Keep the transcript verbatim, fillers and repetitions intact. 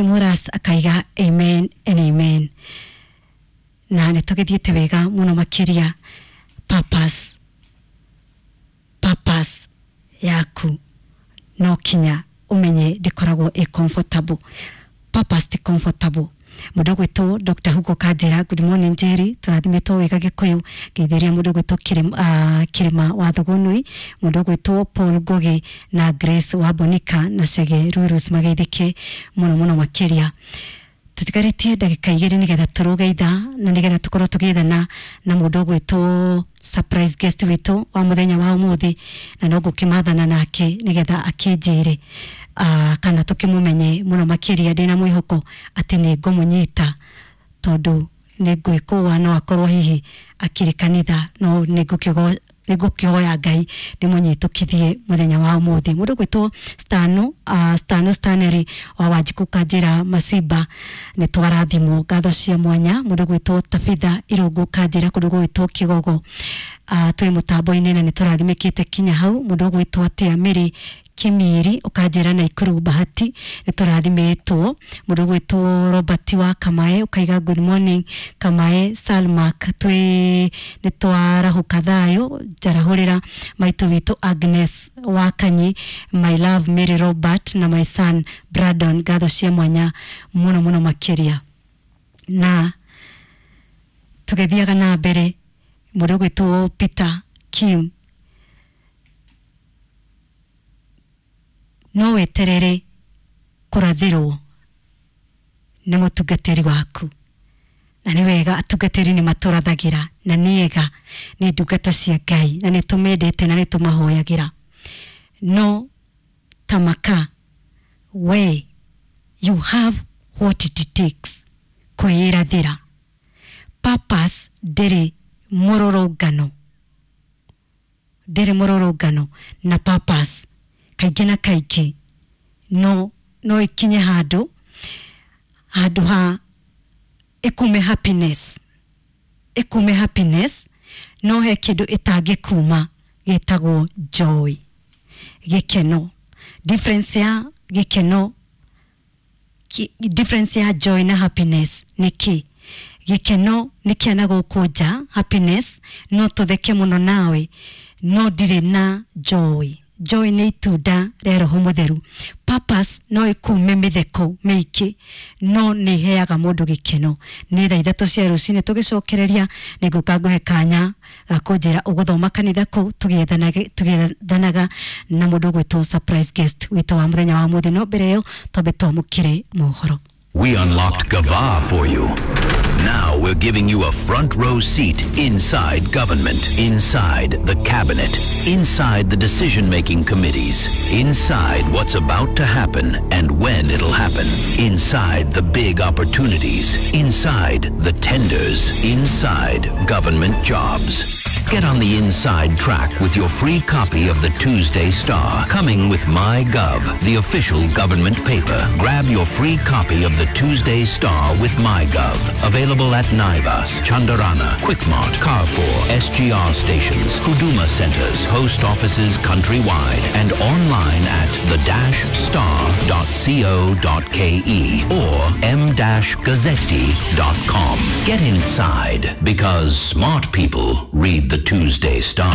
Muras akaiga amen and amen. Na nĩ tũgĩthiĩte wega mũno makĩria. Purpose, purpose yaku no kinya ũmenye ndĩkoragwo ĩ comfortable. Purpose ti comfortable. Mũndũ ũgwĩtwo Doctor Hugo Kanjĩra, good morning Njeri, tũrathimĩtwo wega Gĩkũyũ. Ngeithĩria mũndũ ũgwĩtwo Kĩrĩma, uh, Kĩrĩma wa Thugunui, mũndũ ũgwĩtwo Paul Ngugi na Grace wa Bonika na Chege Rurus, mageithĩke mũno mũno makĩria. Tũtigarĩtie ndagĩka igĩrĩ nĩgetha tũrũge ithaa na nĩgetha tũkorwo tũgĩethana na mũndũ ũgwĩtwo surprise guest witũ wa mũthenya wa ũmũthĩ, na no ngũkĩmathana nake nĩgetha akĩnjĩre uh, kana tũkĩmũmenye mũno makĩria. Ndĩna mwĩhoko atĩ nĩ ngũmũnyita tondũ nĩ ngwĩkũa no akorwo hihi akĩrĩ kanitha, no nĩ ngũkĩgo nĩ ngũkĩhoya Ngai ndĩmũnyitũkithie mũthenya wa ũmũthĩ. Mũndũ ũgwĩtwo Stano, uh, Stano Stanley wa Wanjikũ Kanjĩra Masimba, nĩ twarathimwo, ngatho cia mwanya. Mũndũ ũgwĩtwo Tabitha Irũngũ Kanjĩra kũndũ gũgwĩtwo Kĩgogo, uh, twĩ mũtambo-inĩ na nĩ tũrathimĩkĩte kinya hau. Mũndũ ũgwĩtwo atĩa Mĩrĩ Kĩmiri ũkanjĩra Naikuru Bahati, nĩ tũrathimĩtwo. Mũndũ ũgwĩtwo Robert wa Kamae ũkaiga good morning Kamae Salmak, twĩ nĩ twarahũka thayũ. Njarahũrĩra maitũ witũ Agnes wa Kanyi, my love Mary Robert na my son Brandon, ngatho cia mwanya mũno mũno makĩria. Na tũgĩthiaga na mbere, mũndũ ũgwĩtwo Peter Kim, no weterere kũrathĩrwo nĩ mũtungatĩri waku, na nĩ wega atungatĩri nĩ matũrathagĩra, na nĩ ega, nĩ ndungata cia Ngai na nĩ tũmendete na nĩ tũmahoyagĩra. No tamaka we, you have what it takes kwĩrathĩra. Purpose ndĩrĩ mũrũrũngano, ndĩrĩ mũrũrũngano, na purpose kaingĩ na kaingĩ no no ikinye handũ handũ ha ĩkume happiness, ĩkume happiness, no he kĩndũ ĩtangĩkuma gĩtagwo joy, gĩkeno. Difference ya gĩkeno, ki, difference ya joy na happiness nĩ kĩ? Gĩkeno nĩ kĩa na gũkũ nja, happiness no tũtheke mũno nawe, no ndirĩ na joy. Joy nĩ itunda rĩa Roho Mũtheru. Purpose no ĩkume mĩtheko mĩingĩ, no nĩ iheaga mũndũ gĩkeno. Nĩ thaa ithatũ cia rũcinĩ tũgĩcokereria, nĩ ngũka ngũhe kanya ga kũnjĩra ũgũthoma kanitha kũ, tũgĩethanaga na mũndũ ũgwĩtwo surprise guest witũ wa mũthenya wa ũmũthĩ. No mbere ĩyo twambe twamũkĩre mohoro. We unlocked Gava for you. Now we're giving you a front row seat inside government, inside the cabinet, inside the decision-making committees, inside what's about to happen and when it'll happen, inside the big opportunities, inside the tenders, inside government jobs. Get on the inside track with your free copy of the Tuesday Star, coming with MyGov, the official government paper. Grab your free copy of the Tuesday Star with MyGov. Available at Naivas, Chandarana, Quickmart, Carrefour, S G R stations, Huduma centers, post offices countrywide, and online at the dash star dot co dot ke or m dash gazzetti dot com. Get inside, because smart people read the Tuesday Star.